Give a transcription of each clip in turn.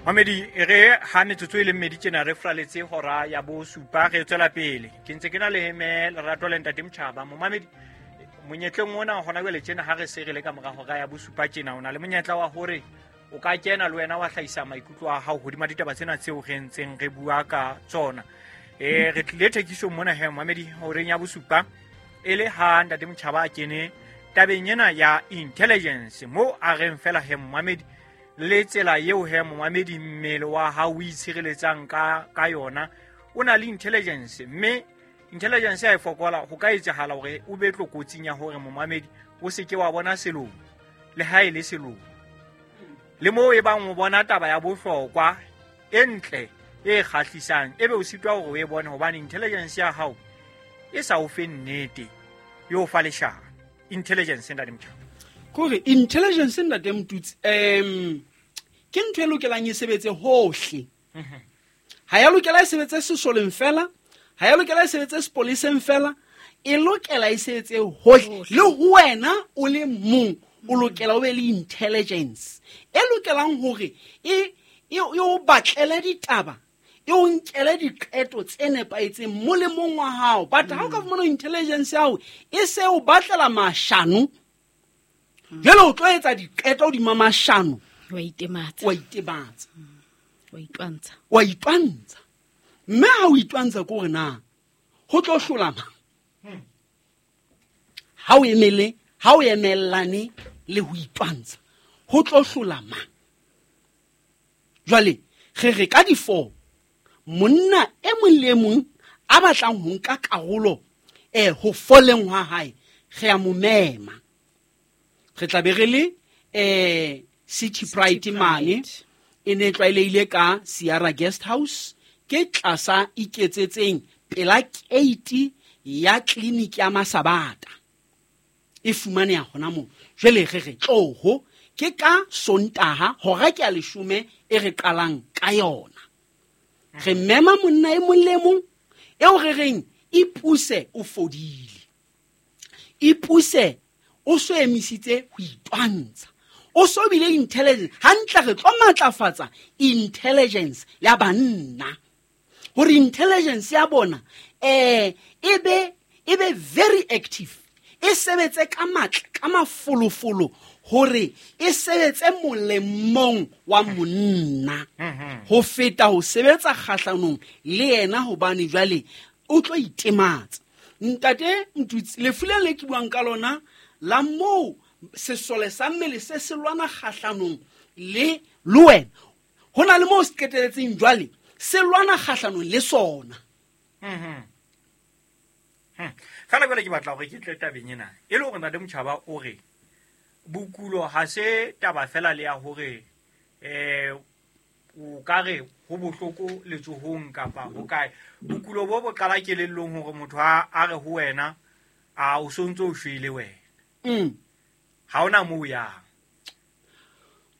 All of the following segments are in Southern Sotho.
Mamedi, e re ha metsotso e le mmedi tjena re fraletse hora ya bosupa, re tswela pele. Ke ntse ke na le me Lerato le Ntate Motjhaba. Momamedi, monyetleng ona hona jwale tjena ha re se re le ka mora hora ya bosupa tjena, o na le monyetla wa hore o ka kena le wena wa hlahisa maikutlo a hao hodima ditaba tsena tseo re ntseng re bua ka tsona. Re tlile thekisong mona he, momamedi, horeng ya bosupa, e le ha Ntate Motjhaba a kene tabeng ena ya intelligence, mo a reng fela he, momamedi, le tsela eo he, momamedi, mmele wa hao o itshireletsang ka yona, o na le intelligence, mme intelligence ya e fokola, ho ka etsahala hore o be tlokotsing ya hore, momamedi, o se ke wa bona selomo, le ha e le selomo, le moo e bang o bona taba ya bohlokwa e ntle e kgahlisang, ebe o sitwa hore o e bone hobane intelligence ya hao e sa o fe nnete, e o fa leshano. Intelligence, Ntate Motjhaba. Kore intelligence, Ntate Motutsi, ke ntho e lokelang e sebetse hohle. Ha ya lokela e sebetse sesoleng fela, ha ya lokela e sebetse sepoleseng fela, e lokela e sebetse hohle. Le ho wena o le mong o lokela o be le intelligence e lokelang hore e o batlele ditaba, e o nkele diqeto tse nepahetseng molemong wa hao. But ha o ka fumana intelligence ya hao e se o batlela mashano, jwale o tlo etsa diqeto hodima mashano, wa itematsa, wa itematsa, wa itwantsha, wa itwantsha. Mme ha o itwantsha, ke hore na ho tlo hlola mang? Ha o emele, ha o emellane le ho itwantsha, ho tlo hlola mang? Jwale re re ka di-4, monna e mong le e mong a batlang ho nka karolo ho foleng hwa hae, re a mo mema. Re tla be re le City Pride mane, e ne tlwaelehile ka Sierra Guest House, ke tlasa iketsetseng pela keiti ya tleliniki ya Masabata, e fumaneha hona moo. Jwale re re tloho, ke ka Sontaha hora ke ya 10 e re qalang ka yona. Re mema monna e mong le e mong eo re reng ipuse o fodile, ipuse o so emisitse ho itwantsha, o so bile intelligence hantle. Re tlo matlafatsa intelligence ya banna hore intelligence ya bona e be very active, e sebetse ka matla, ka mafolofolo, hore e sebetse molemong wa monna ho feta ho sebetsa kgahlanong le yena, hobane jwale o tlo itematsa. Ntate Ntutsi, lefu le le ke buang ka lona la moo sesole sa mmele se se lwana kgahlanong le wena, ho na le moo se qeteletseng jwale se lwana kgahlanong le sona. Fela jwale ke batla hore ke tle tabeng ena e le hore Ntate Motjhaba o re bokulo ha se taba fela le ya hore o ka re ho bohloko letsohong kapa ho kae. Bokulo bo bo qala kelellong, hore motho a re ho wena, a o sontso o shwele wena, ha ona moo o yang.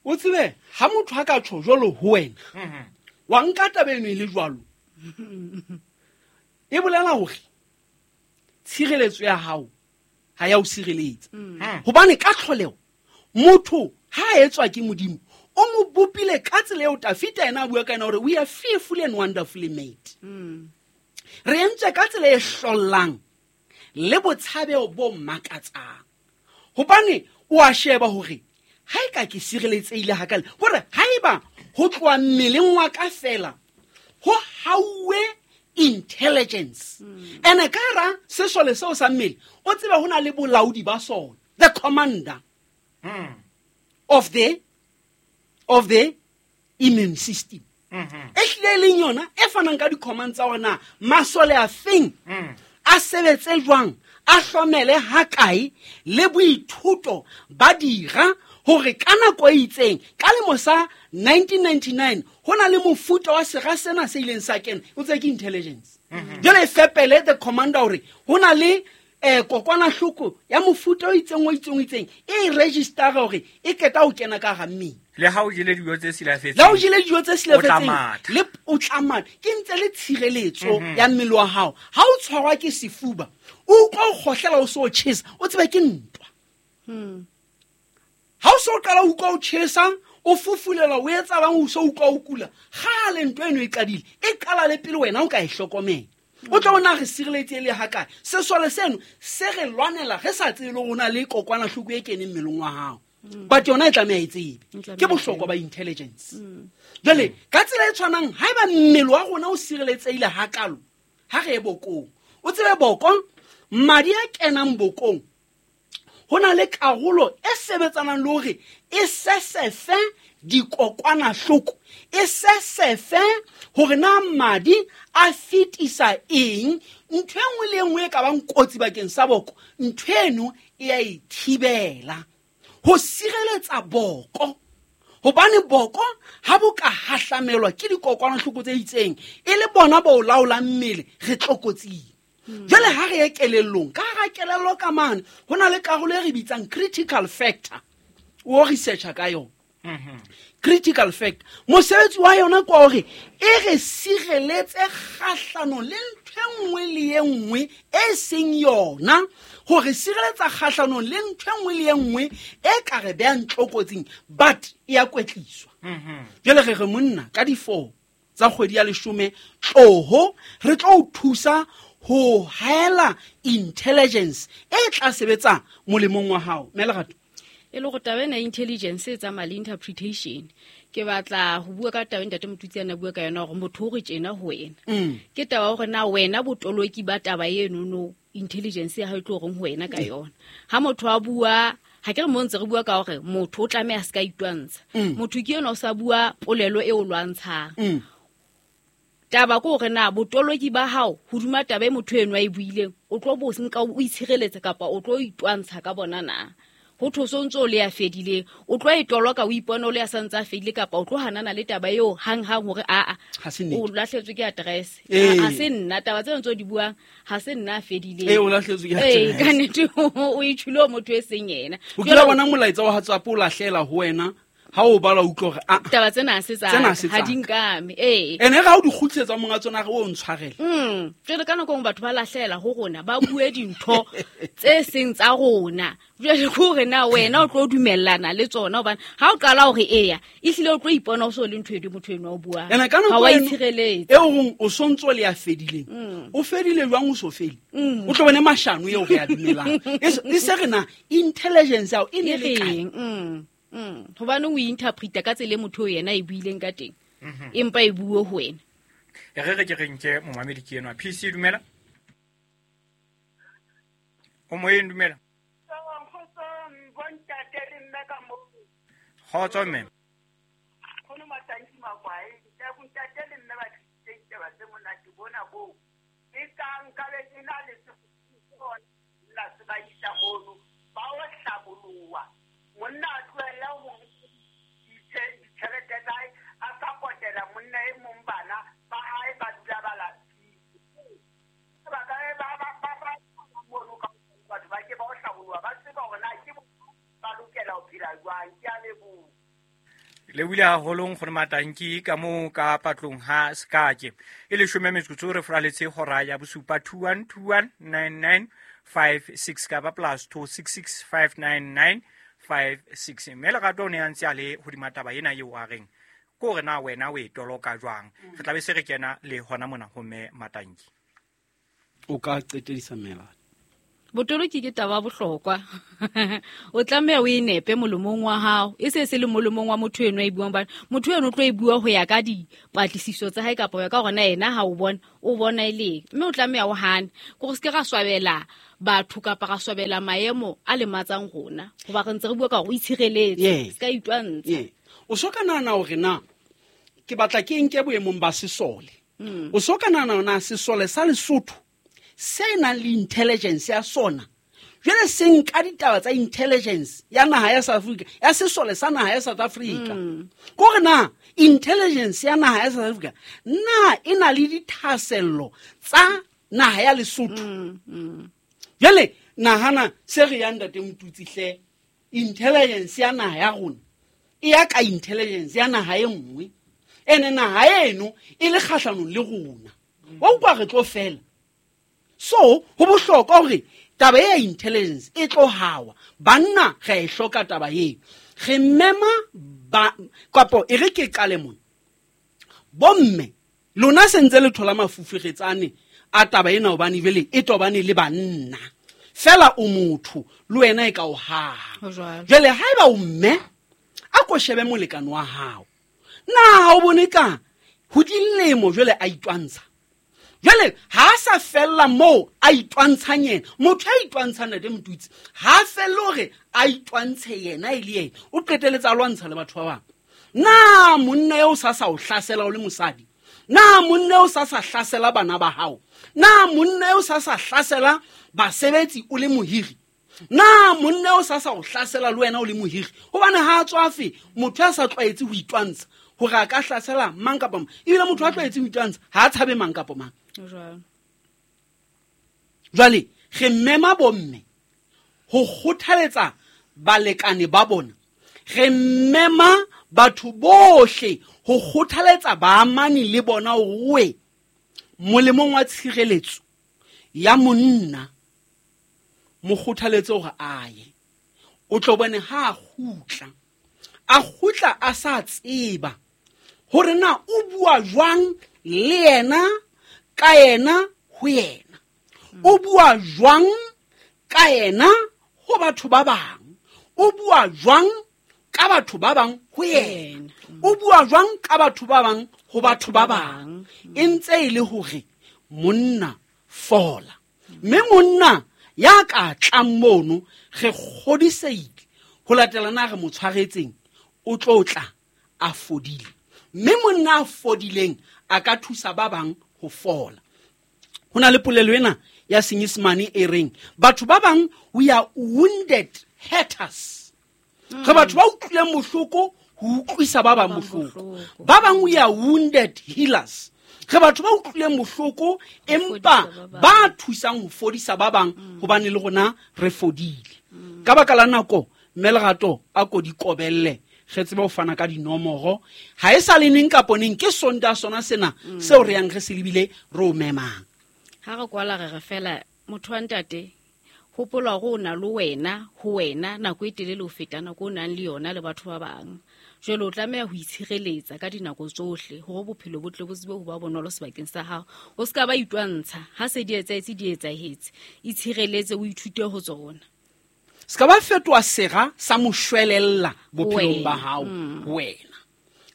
O tsebe ha motho a ka tjho jwalo ho wena, wa nka taba eno e le jwalo, e bolela hore tshireletso ya hao ha ya o sireletsa, hobane ka tlholeho motho ha a etswa ke Modimo, o mo bopile ka tsela eo Tafita ena a bua ka ena hore we are fearfully and wonderfully made. Re entswe ka tsela e hlollang le botshabeho bo makatsang, hobane o a sheba hore ha e ka ke sireletsehile hakale, hore haeba ho tloha mmeleng wa ka fela ho hauwe intelligence, ene ka hara sesole seo sa mmele, o tsebe ho na le bolaodi ba sona, the commander of the immune system, e hlile e leng yona e fanang ka di-command tsa hore na masole a feng a sebetse jwang, a hlomele hakae, le boithuto ba dira hore ka nako e itseng. Ka lemo sa 1999 ho na le mofuta wa sera sena se ileng sa kena, o tse ke intelligence jwale e fepele the commander hore ho na le kokwanahloko ya mofuta o itseng, o itseng, o itseng, e registera hore e qeta ho kena ka hara mmele. Le ha o jele dijo tse silafetseng, Le ha o jele dijo tse o tla silafetseng, matha. Le o tla matha, ke ntse le tshireletso ya mmele wa hao. Ha o tshwarwa ke sefuba, o utlwa o kgohlela, o se o tjhesa, o tsebe ke ntwa. Ha o so o qala o utlwa o tjhesa, O fufulelwa, o etsa bang, o so utlwa o kula. Kgale ntho eno e qadile, e qala le pele wena o ka e hlokomela. O tlo bona re sireletse le hakae. Sesole seno se re lwanela re sa tsebe le rona le kokwanahloko e keneng mmeleng wa hao. But yona e tlameha e tsebe. Ke bohlokwa ba intelligence. Jwale ka tsela e tshwanang, haeba mmele wa rona o sireletsehile hakalo, ha re ye bokong, o tsebe boko, madi a kenang bokong, ho na le karolo e sebetsanang le hore e sesefe dikokwanahloko, e sesefe hore na madi a fetisa eng. Ntho e nngwe le e nngwe e ka bang kotsi bakeng sa boko, ntho eno e a e thibela ho sireletsa boko. Hobane boko ha bo ka hahlamelwa ke dikokwanahloko tse itseng, e le bona bo laolang mmele, re tlokotsing. Jwale ha re ye kelellong, ka hara kelello ka mane ho na le karolo e re bitsang critical factor. O researcha ka yona. Critical factor, mosebetsi wa yona ke wa hore e re sireletse kgahlanong le ntho e nngwe le e nngwe e seng yona, hore sireletsa kgahlanong le ntho e nngwe le e nngwe e ka re behang tlokotsing, but e ya kwetliswa. Jwale re re monna ka di-4 tsa kgwedi ya 10 tloho re tlo o thusa ho haela intelligence e tla sebetsa molemong wa hao. Mme Lerato, e le go taba ena intelligence e tsamaya le interpretation. Ke batla ho bua ka taba e ntate Motutsi a na bua ka yona, hore motho o re tjena ho wena. Ke taba hore na wena botoloki ba taba eno no intelligence ya hao e tlo reng ho wena ka yona. Ha motho a bua, ha ke re mo ntse re bua ka hore motho o tlameha a se ka itwantsha. Motho ke yena o sa bua polelo e o lwantshang. Taba ke hore na botoloki ba hao hodima taba e motho eno a e buileng, o tlo bo nka o itshireletse kapa o tlo itwantsha ka bona na? Ho thwe o ntso o le ya fedileng, o tlo e toloka o ipone o le ya santse a fedile, kapa o tlo hanana le taba eo hang-hang hore aa, Ha se nnete. o lahletswe ke address. Ha se nna, taba tseo ntse o di buang, ha se nna a fedileng. O lahletswe ke address. Ka nnete, o e tjhule ho motho e seng yena. O kile wa bona molaetsa wa WhatsApp o lahlela ho wena, ha o bala o utlwa hore, ah, Taba tsena ha se tsa Tsena ka, ha se ha tsa di ka. nkame. Ene ha o di kgutlisetsa monga tsona, re o ntshwarele. Jwale ka nako e nngwe batho ba lahlela ho rona, ba bue dintho tse seng tsa rona. Jwale ke hore na wena o tlo dumellana le tsona, hobane ha o qala hore eya, ehlile o tlo ipona o so le ntho e motho enwa o buang. Ene ka nako Ha wa eno, itshireletse. eo reng o sontso le ya fedileng. O fedile jwang o so fele? O tlo bone mashano eo re a dumelang. E se re na intelligence ya hao e ne E le kae? reng? Hobane o interpreta ka tsela e motho eo yena a e buileng ka teng. Empa e bue ho wena. E re re ke re nke momamedi ke enwa. PC dumela. O moyeng dumela. Kgotso mme. Nkgono Matanki Makwae, ntate le mme ba tlisitse ditaba tse monate bona boo. E kang nkabe ke na le nna se ba isa mono, ba o hlaboloha. Monna a tlohelle ho ditjhelete tsa hae, a sa potela monna e mong bana ba hae ba dula ba lapile. Ba ka ba ba ba ba mono ka batho ba ke ba o hlaboloha, ba tseba hore na ke ba lokela ho phela jwang. Ke a leboha. Le buile haholo nkgono Matanki ka moo ka patlong ha Sekake. E leshome metsotso re furaletse hora ya bosupa, two one two one nine nine five six kapa plus two six six five nine nine five six. Mme Lerato o ne a ntse a le hodima taba ena eo a reng ke hore na wena o e toloka jwang. Re tla be se re kena le hona mona ho mme Matanki. O ka qetedisa mme Lerato. Botoloki ke taba ya bohlokwa. O tlameha o e nepe molomong wa hao, e se se le molomong wa motho eno a e buang, hobane motho eno o tlo e bua ho ya ka dipatlisiso tsa hae kapa ho ya ka hore na yena ha o bona, o bona e leng. Mme o tlameha o hane, ke hore se ke ra swabela batho kapa ra swabela maemo a lematsang rona, hoba re ntse re bua ka hore o itshireletse, se ka itwantsha. O so ka nahana hore na ke batla ke nke boemong ba sesole. O so ka nahana hore na sesole sa Lesotho se nang le intelligence ya sona, jwale se nka ditaba tsa intelligence ya naha ya South Africa, ya sesole sa naha ya South Africa. Ke hore na intelligence ya naha ya South Africa na e na le dithahasello tsa naha ya Lesotho? Jwale nahana se re yang ntate Motutsi hle, intelligence ya naha ya rona e ya ka intelligence ya naha e nngwe, ene naha eno e le kgahlanong le rona. Wa utlwa re tlo fela. So ho bohlokwa hore taba ya intelligence e tlo hawa. Banna re a e hloka taba eo. Re mema ba kapo e re ke qale mona. Bomme lona sentse le thola mafuferetsane a taba ena hobane jwale e tobane le banna. Fela o motho le wena e ka o haha. Jwale haeba o mme a ko shebe molekane wa hao. Na o bone ka ho dilemo jwale a itwantsha. Jwale ha a sa fella moo a itwantshang yena, motho a itwantshang Ntate Motutsi ha felle hore a itwantshe yena e le yena, o qeteletse a lwantsha le batho ba bang. Na monna eo sa sa o hlasela o le mosadi? Na monna eo sa sa hlasela bana ba hao? Na monna eo sa sa hlasela basebetsi o le mohiri? Na monna eo sa sa o hlasela le wena o le mohiri? Hobane ha a tswafe motho a sa tlwaetse ho itwantsha hore a ka hlasela mang kapa mang. Ebile motho a tlwaetse ho itwantsha ha a tshabe mang kapa mang. Jwale re mema bomme ho kgothaletsa balekane ba bona. Re mema batho bohle ho kgothaletsa baamani le bona hore molemong wa tshireletso ya monna mo kgothaletse hore a ye. O tlo bone ha a kgutla, a kgutla a sa tseba hore na o bua jwang le yena ka yena ho yena. O bua jwang ka yena ho batho ba bang. O bua jwang ka batho ba bang ho yena. O bua jwang ka batho ba bang ho batho ba bang. E ntse e le hore monna fola. Mme monna ya ka tlang mono re kgodiseile ho latela na re mo tshwaretseng o tlo tla a fodile. Mme monna a fodileng a ka thusa ba bang ho fola. Ho na le polelo ena ya Senyesemane e reng batho ba bang we are wounded haters. Re batho ba utlwileng bohloko ho utlwisa ba bang bohloko. Ba bang we are wounded healers. Re batho ba utlwileng bohloko empa ba thusang ho fodisa ba bang hobane le rona re fodile. Ka baka la nako mme Lerato a ko di kobelle re tsebe ho fana ka dinomoro. Ha e sa le neng kapo neng ke Sontaha sona sena seo re yang re se lebile re o memang. Ha re kwala re re fela motho wa ntate hopola hore o na le wena ho wena nako e telele ho feta nako o nang le yona le batho ba bang. Jwale o tlameha ho itshireletsa ka dinako tsohle hore bophelo bo tle bo tsebe ho ba bonolo sebakeng sa hao. O ska ba itwantsha ha se di etsahetse di etsahetse. Itshireletse o ithute ho tsona. Ska ba fetoha sera sa moshwelella bophelong ba hao wena.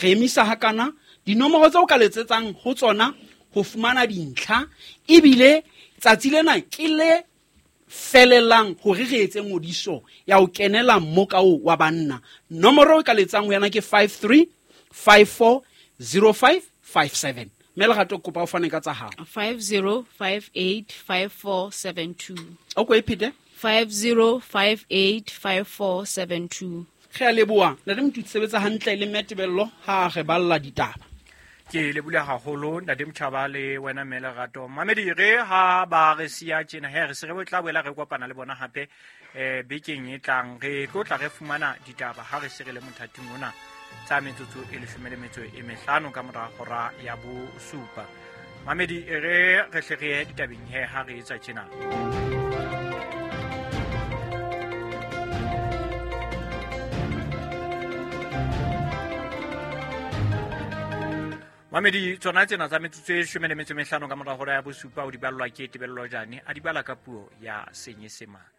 Re emisa hakana dinomoro tseo ka letsetsang ho tsona ho fumana dintlha ebile tsatsi lena ke le felelang hore re etse ngodiso ya ho kenela mmoka oo wa banna. Nomoro e ka letsang ho yena ke 53 54 05 57. Mme Lerato kopa o fane ka tsa hao. 5058 5472. O ko e phete? 5058 5472. Re a leboha. Ntate Motutsi sebetsa hantle le Mme Tebello ha re balla ditaba. Ke lebule haholo Ntate Motjhaba le wena mme Lerato. Mamedi re ha ba re siya tjena he re se re tla boela re kopana le bona hape bekeng e tlang. Re tlo tla re fumana ditaba ha re se re le mothating ona tsa metsotso e 15 ka mora hora ya bosupa. Mamedi re re hle re ye ditabeng he ha re etsa tjena. Mamedi tsona tsena tsa metsotso e 15 ka mora hora ya bosupa o di ballwa ke Tebello Jane a di bala ka puo ya Senyesemane.